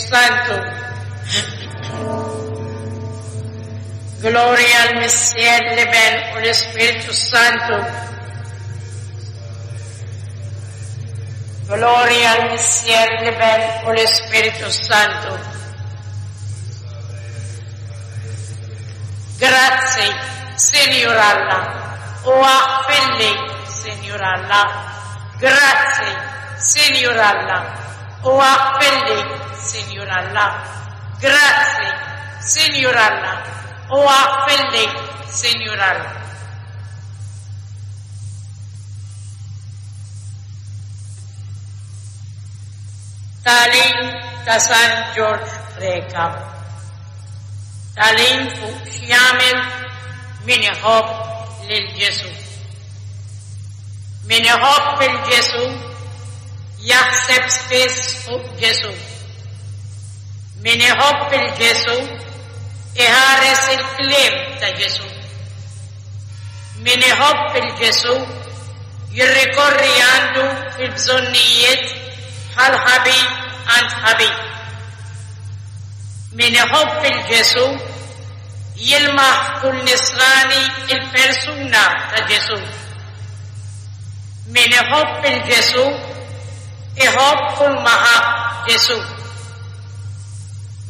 Santu. Glorja l-Missier, l-Iben u l-Ispirtu Santu. Glorja l-Missier, l-Iben u l-Ispirtu Santu. Grazzi, Sinjur Alla, u aħfirli, Sinjur Alla. Grazzi, Sinjur Alla, u aħfirli, Sinjur Alla. Grazzi, Sinjur Alla, u aħfirli, Sinjur Alla. Tagħlim ta' San Ġorġ Preca. Tagħlim fuq x'jagħmel min iħobb lil Ġesù. Min iħobb 'il Ġesù jaħseb spiss fuq Ġesù. Min iħobb 'il Ġesù iħares il-kliem ta' Ġesù. Min iħobb 'il Ġesù jirrikorri għandu fil-bżonnijiet bħal ħabib għand ħabib. Min iħobb 'il Ġesù jilmaħ f'kull nisrani l-persuna ta' Ġesù. Min iħobb 'il Ġesù iħobb kull ma ħabb Ġesù.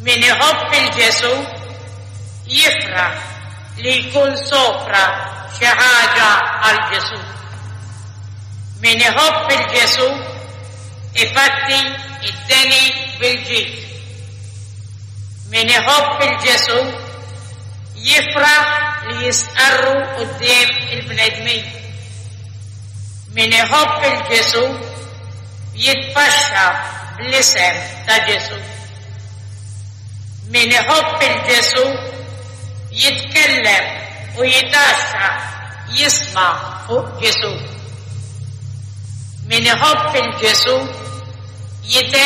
Min iħobb 'il Ġesù jifraħ li jkun sofra xi ħaġa għal Ġesù. Min iħobb 'il Ġesù ifatti d-deni bil-ġid. Min iħobb 'il Ġesù jifraħ li jistqarru quddiem il-bnedmin. Min iħobb 'il Ġesù jitpaxxa bl-isem ta' Ġesù. Min iħobb 'il Ġesù jitkellem u jitgħaxxaq jisma' fuq Ġesù. Min iħobb 'il Ġesù jitgħen.